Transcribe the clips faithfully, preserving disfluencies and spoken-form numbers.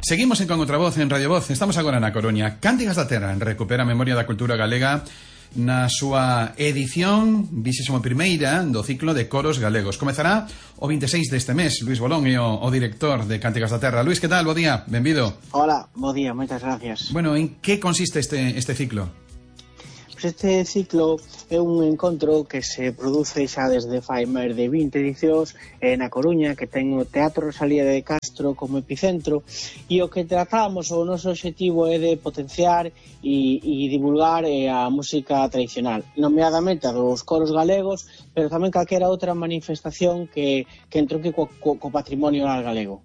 Seguimos en Con Outra Voz, en Radio Voz. Estamos agora na Coruña. Cántigas da Terra recupera a memoria da cultura galega na súa edición vixésima primeira do ciclo de coros galegos. Comezará o vinte e seis deste mes. Luís Bolón é o, o director de Cántigas da Terra. Luís, que tal? Bo día, benvido. Hola, bo día, moitas gracias. Bueno, en que consiste este, este ciclo? Este ciclo é un encontro que se produce xa desde fai máis de vinte edicións eh, na Coruña, que ten o Teatro Rosalía de Castro como epicentro, e o que tratamos, o noso obxectivo é de potenciar e, e divulgar eh, a música tradicional, nomeadamente a dos coros galegos, pero tamén calquera outra manifestación que, que entronque co, co, co patrimonio galego.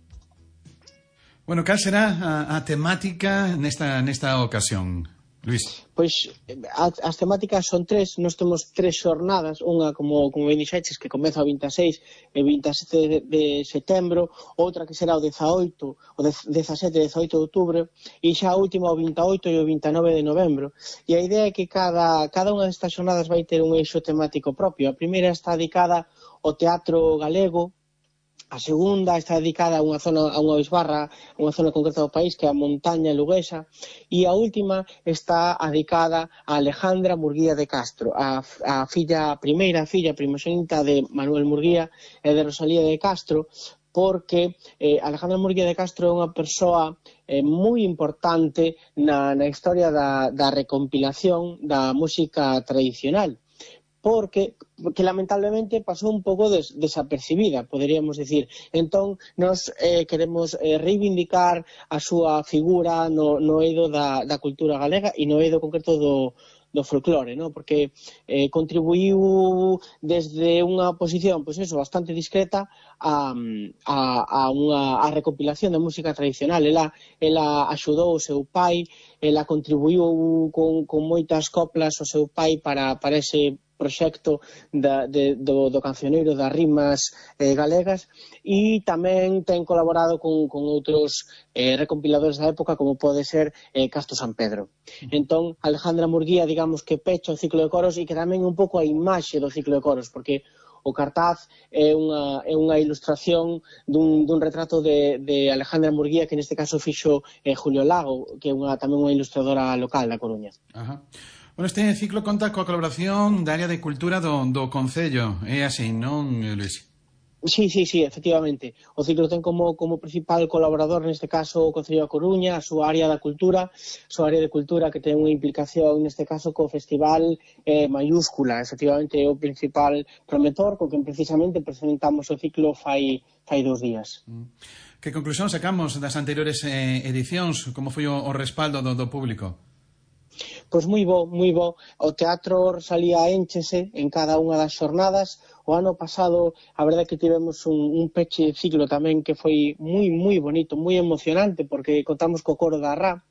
Bueno, cal será a, a temática nesta, nesta ocasión, Luís? Pois as temáticas son tres, nós temos tres xornadas, unha como, como ben dixeches, que comeza o vinte e seis e vinte e sete de, de setembro, outra que será o dezaoito, o dezasete e dezaoito de outubro, e xa a última o vinte e oito e o vinte e nove de novembro. E a idea é que cada, cada unha destas xornadas vai ter un eixo temático propio. A primeira está dedicada ao teatro galego, a segunda está dedicada a unha zona, a unha bisbarra, a unha zona concreta do país, que é a montaña luguesa, e a última está dedicada a Alejandra Murguía de Castro, a, a filla, a primeira filla primogénita de Manuel Murguía e de Rosalía de Castro, porque eh, Alejandra Murguía de Castro é unha persoa eh, moi importante na, na historia da, da recompilación da música tradicional, porque que lamentablemente pasou un pouco des, desapercibida, poderíamos decir. Entón, nos eh, queremos eh, reivindicar a súa figura no, no eido da, da cultura galega e no eido concreto do, do folclore, ¿no? Porque eh, contribuiu desde unha posición, pois eso, bastante discreta a, a, a unha a recompilación da música tradicional. Ela, ela axudou o seu pai, ela contribuiu con, con moitas coplas o seu pai para, para ese proxecto da, de, do, do cancioneiro das rimas eh, galegas, e tamén ten colaborado con, con outros eh, recompiladores da época, como pode ser eh, Casto San Pedro. Entón, Alejandra Murguía, digamos que pecha o ciclo de coros e que tamén un pouco a imaxe do ciclo de coros, porque o cartaz é unha, é unha ilustración dun, dun retrato de, de Alejandra Murguía, que neste caso fixo eh, Julio Lago, que é unha, tamén unha ilustradora local da Coruña. Ajá. Bueno, este ciclo conta coa colaboración da área de cultura do, do Concello, é así, non, Luís? Sí, sí, sí, efectivamente. O ciclo ten como, como principal colaborador neste caso o Concello da Coruña, a súa área da cultura, a súa área de cultura que ten unha implicación neste caso co festival eh, mayúscula, efectivamente é o principal promotor, co que precisamente presentamos o ciclo fai, fai dos días. Que conclusión sacamos das anteriores eh, edicións? Como foi o, o respaldo do, do público? Pois moi bo, moi bo. O Teatro Rosalía énchese en cada unha das xornadas. O ano pasado, a verdade é que tivemos un, un peche de ciclo tamén que foi moi, moi bonito, moi emocionante, porque contamos co coro da Rá,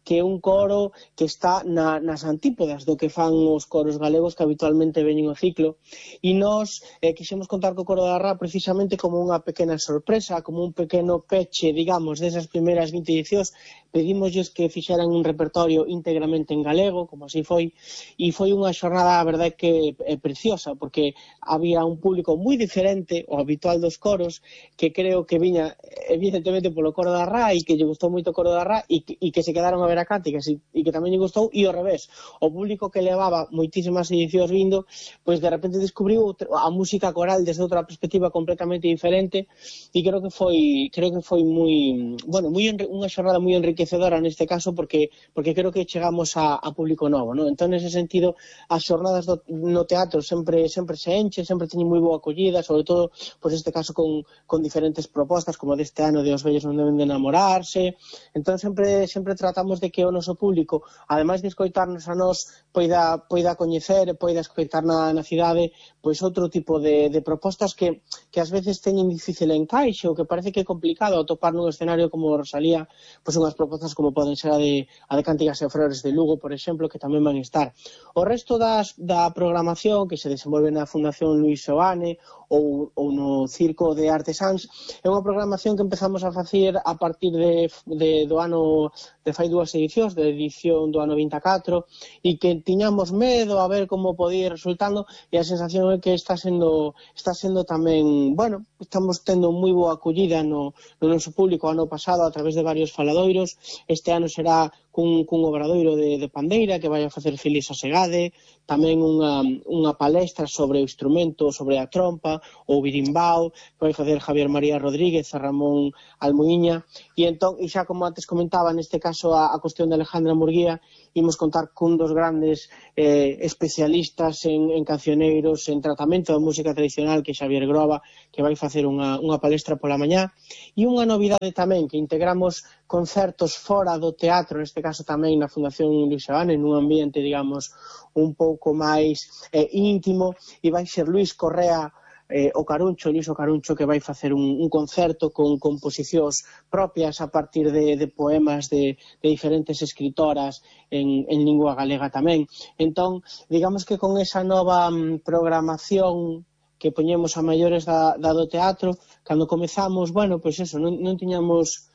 que é un coro que está na, nas antípodas do que fan os coros galegos que habitualmente veñen ao ciclo, e nós eh, quixemos contar co coro da Rá precisamente como unha pequena sorpresa, como un pequeno peche, digamos, desas primeiras vinte edicións. Pedimosles que fixeran un repertorio íntegramente en galego, como así foi, e foi unha xornada, a verdade, que é preciosa, porque había un público moi diferente ao habitual dos coros, que creo que viña evidentemente polo coro da Rá e que lle gustou moito o coro da Rá e que, e que se quedaron a ver a cánticas e, e que tamén lle gustou, e ao revés, o público que levaba moitísimas edicións vindo, pois de repente descubriu a música coral desde outra perspectiva completamente diferente, e creo que foi creo que foi moi, bueno, moi unha xornada moi enriquecedora neste caso, porque porque creo que chegamos a, a público novo, ¿no? Entón, nese sentido, as xornadas do, no teatro sempre sempre se enche, sempre teñen moi boa acollida, sobre todo, pois este caso con, con diferentes propostas, como deste ano de Os vellos non deben de enamorarse. Entón, sempre sempre tratamos de que o noso público, ademais de escoitarnos a nós, poida, poida coñecer, poida escoitar na, na cidade, pois outro tipo de, de propostas que, que ás veces teñen difícil encaixe, ou que parece que é complicado atopar nun escenario como Rosalía, pois unhas propostas como poden ser a de, a de Cántigas e Flores de Lugo, por exemplo, que tamén van estar. O resto das, da programación que se desenvolve na Fundación Luís Seoane ou, ou no Circo de Artesáns é unha programación que que empezamos a facer a partir de, de do ano de fai dúas edicións, de edición do ano vinte e catro, e que tiñamos medo a ver como podía ir resultando, e a sensación é que está sendo está sendo tamén, bueno, estamos tendo moi boa acollida no, no noso público. Ano pasado a través de varios faladoiros, este ano será cun, cun obradoiro de, de pandeira que vai a facer Félix Asegade, tamén unha, unha palestra sobre o instrumento, sobre a trompa, o birimbao, que vai facer Javier María Rodríguez, a Ramón Almuiña, e entón, e xa como antes comentaba, neste caso a, a cuestión de Alejandra Murguía, imos contar cun dos grandes eh, especialistas en, en cancioneiros, en tratamento da música tradicional, que é Xavier Groba, que vai facer unha, unha palestra pola mañá, e unha novidade tamén, que integramos concertos fora do teatro, neste caso tamén na Fundación Luis Seoane, nun ambiente, digamos, un pouco máis eh, íntimo, e vai ser Luis Correa eh, o Caruncho, Luis o Caruncho, que vai facer un, un concerto con composicións propias a partir de, de poemas de, de diferentes escritoras en, en lingua galega tamén. Entón, digamos que con esa nova mm, programación que poñemos a maiores da, da do teatro, cando comezamos, bueno, pois eso, non, non tiñamos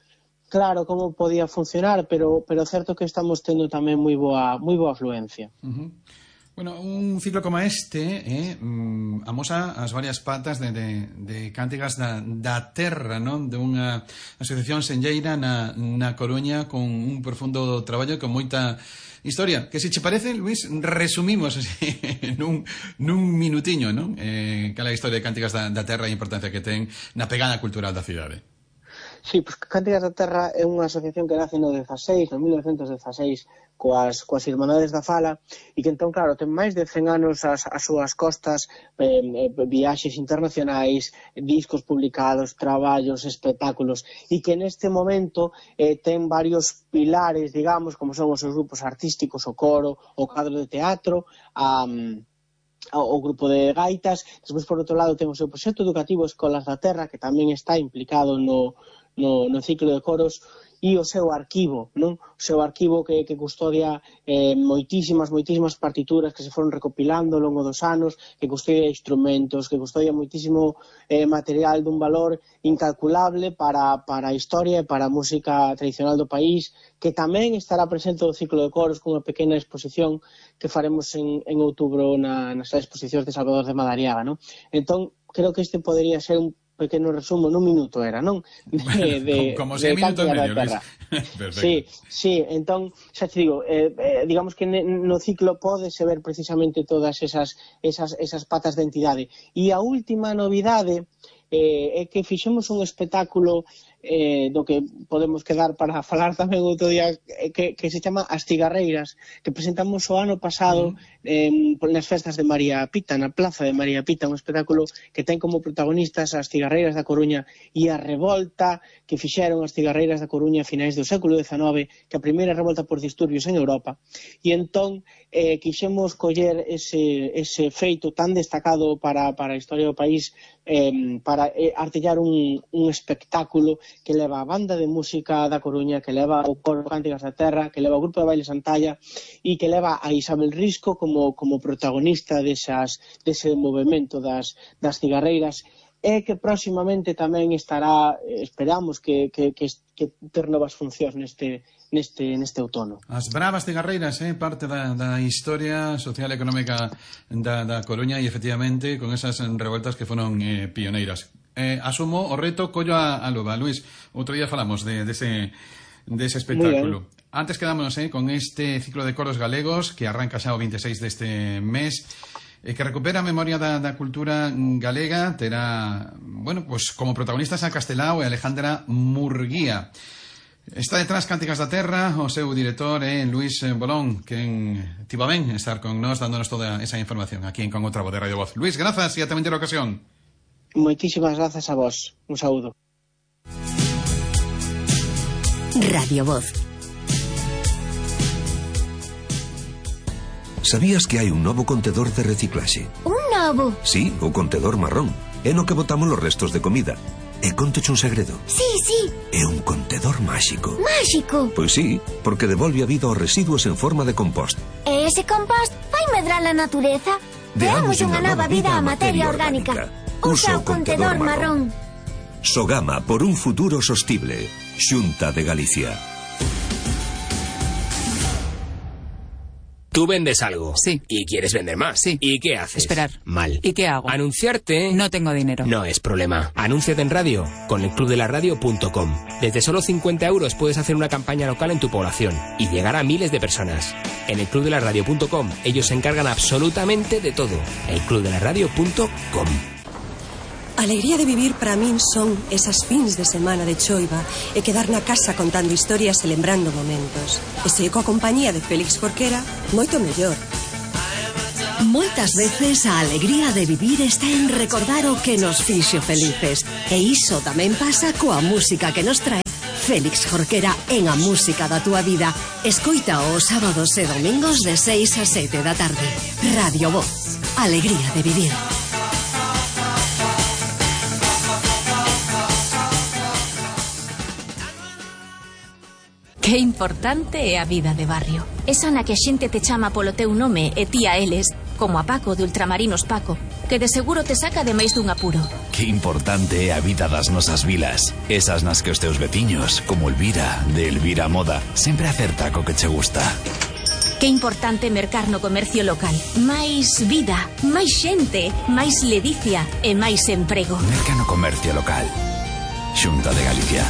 claro como podía funcionar, pero pero certo que estamos tendo tamén moi boa moi boa afluencia. Uh-huh. Bueno, un ciclo como este eh, mm, amosa as varias patas de, de, de cántigas da, da terra, non? De unha asociación senlleira na, na Coruña con un profundo traballo e con moita historia, que se che parece, Luis, resumimos así, nun, nun minutiño, non? Eh, cal é a historia de Cántigas da, da Terra e a importancia que ten na pegada cultural da cidade. Sí, pues Cántigas da Terra é unha asociación que nace no dezaseis, no mil novecentos dezaseis, coas, coas Irmandades da Fala, e que entón, claro, ten máis de cen anos as, as súas costas, eh, viaxes internacionais, discos publicados, traballos, espectáculos, e que neste momento eh, ten varios pilares, digamos, como son os seus grupos artísticos, o coro, o cadro de teatro, a... Um, o grupo de gaitas. Despois, por outro lado, ten o seu proxecto educativo Escolas da Terra, que tamén está implicado no, no, no ciclo de coros, e o seu arquivo, non? O seu arquivo que, que custodia eh, moitísimas, moitísimas partituras que se foron recopilando ao longo dos anos, que custodia instrumentos, que custodia moitísimo eh, material dun valor incalculable para, para a historia e para a música tradicional do país, que tamén estará presente no ciclo de coros cunha pequena exposición que faremos en, en outubro na, nas exposicións de Salvador de Madariaga, non? Entón, creo que este podería ser un pequeno resumo, nun minuto era, non? De, de, como se minuto e medio, Luis. Sí, sí, entón, xa te digo, eh, eh, digamos que no ciclo pódese ver precisamente todas esas, esas, esas patas de entidade. E a última novidade eh, é que fixemos un espectáculo eh, do que podemos quedar para falar tamén outro día, eh, que, que se chama As Cigarreiras, que presentamos o ano pasado mm. eh, nas festas de María Pita, na plaza de María Pita, un espectáculo que ten como protagonistas as cigarreiras da Coruña e a revolta que fixeron as cigarreiras da Coruña a finais do século dezanove, que a primeira revolta por disturbios en Europa, e entón eh, quixemos coller ese, ese feito tan destacado para, para a historia do país, eh, para eh, artellar un, un espectáculo que leva a banda de música da Coruña, que leva o coro Cántigas da Terra, que leva o grupo de baile Santalla e que leva a Isabel Risco como, como protagonista desas, dese movimento das, das cigarreiras, e que próximamente tamén estará, esperamos que, que, que, que ter novas funcións neste, neste, neste outono. As bravas cigarreiras, eh, parte da, da historia social e económica da, da Coruña, e efectivamente con esas revueltas que foron eh, pioneiras. Eh, asumo o reto, collo a, a luva. Luis, outro día falamos de, de, ese, de ese espectáculo. Antes quedámonos eh, con este ciclo de coros galegos que arranca xa o veintiséis deste mes, e que recupera a memoria da, da cultura galega. Terá, bueno, pues como protagonistas a Castelao e Alejandra Murguía. Está detrás Cántigas da Terra, o seu director é eh, Luis Bolón, que tivo ben estar con nós dándonos toda esa información aquí en Con Outra Voz de Radio Voz. Luis, grazas e ata outra ocasión. Moitísimas grazas a vos. Un saúdo. Radio Voz. Sabías que hai un novo contedor de reciclaxe? Un novo? Sí, o contedor marrón. É no que botamos os restos de comida. E contoche un segredo. Sí, sí. É un contedor máxico. Máxico? Pois sí, porque devolve a vida aos residuos en forma de compost. E ese compost vai medrar a natureza? Deamos unha nova vida á materia orgánica. Usa o contedor marrón. Sogama por un futuro sostible. Xunta de Galicia. Tú vendes algo. Sí. Y quieres vender más. Sí. ¿Y qué haces? Esperar. Mal. ¿Y qué hago? Anunciarte. No tengo dinero. No es problema. Anúnciate en radio con el club de la radio punto com. Desde solo cincuenta euros puedes hacer una campaña local en tu población y llegar a miles de personas. En el club de la radio punto com ellos se encargan absolutamente de todo. el club de la radio punto com. A alegría de vivir para min son esas fins de semana de choiva e quedar na casa contando historias e lembrando momentos. E se coa compañía de Félix Jorquera, moito mellor. Moitas veces a alegría de vivir está en recordar o que nos fixo felices. E iso tamén pasa coa música que nos trae Félix Jorquera en A Música da Túa Vida. Escoita os sábados e domingos de seis a sete da tarde. Radio Voz. Alegría de vivir. Que importante é a vida de barrio. Esa na que a xente te chama polo teu nome e ti a eles, como a Paco de Ultramarinos Paco, que de seguro te saca de máis dun apuro. Que importante é a vida das nosas vilas. Esas nas que os teus veciños, como Elvira, de Elvira Moda, sempre acerta co que che gusta. Que importante mercar no comercio local. Máis vida, máis xente, máis ledicia e máis emprego. Merca no comercio local. Xunta de Galicia.